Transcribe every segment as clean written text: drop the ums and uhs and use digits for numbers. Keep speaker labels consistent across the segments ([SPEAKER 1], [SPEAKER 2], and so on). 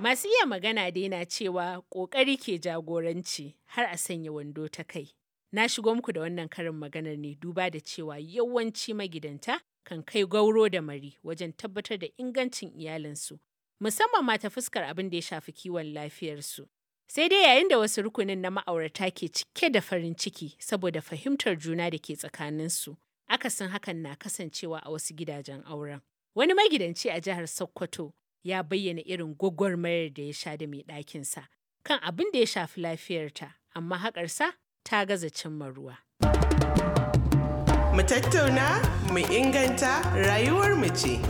[SPEAKER 1] Masu iya magana dai na cewa ƙoƙari ke jagoranci har a sanya wando ta kai. Na shigo muku da wannan karin maganar ne duba da cewa yawanci magidanta kan kai gauro da mari wajen tabbatar da ingancin iyalinsu, musamman ma ta fuskar abin da ya shafi kiwon lafiyarsu. Sai dai yayin da wasu rukunin na ma'aurata ke cike da farin ciki saboda fahimtar juna da ke tsakaninsu, akasin hakan na kasancewa a wasu gidajen auren. Wani magidanci a jihar Sokoto ya bayyana irin gwagwarmayar da ya sha da mai ɗakinsa kan abin da ya shafi lafiyarta, amma haƙarsa ta gaza cimma ruwa.
[SPEAKER 2] Mu tattauna, mu inganta rayuwar mu ce.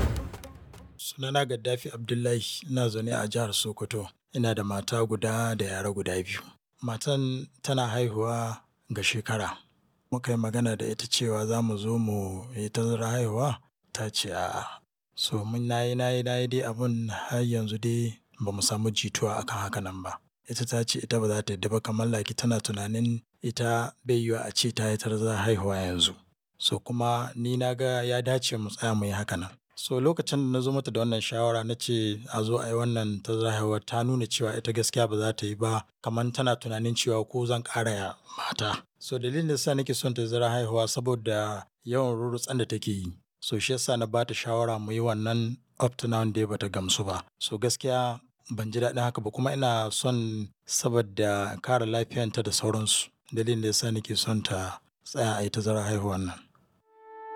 [SPEAKER 3] Sunana Gaddafi Abdullahi, ina zaune a jihar Sokoto. Ina da mata guda da yara guda biyu. Matan tana haihuwa ga shekara. Muka yi magana da ita cewa za mu zo mu yi tazarar haihuwa, ta ce a'a. So mun nayi nayi nayi dai abun har yanzu dai ba mu samu jituwa akan haka nan ba. Ita ta ce ita ba za ta yadda ba, kamar like tana tunanin ita bai yiwuwa a ce ta yi tazarar haihuwa yanzu. So kuma ni na ga ya dace mu tsaya mu yi haka nan. So lokacin da na zo mata da wannan shawara na ce a zo a yi wannan tazarar haihuwa, ta nuna cewa ita gaskiya ba za ta yi ba, kamar tana tunanin cewa ko zan ƙara mata. So dalilin da yasa nake son tazarar haihuwa saboda yawan rurrutsan da take yi. So shi yasa na ba ta shawara mu yi wannan, up to now dai bata gamsu ba. So gaskiya ban ji daɗin haka ba, kuma ina son saboda kare lafiyanta da sauransu. Dalilin da yasa nake son ta tsaya a yi tazarar haihuwan nan.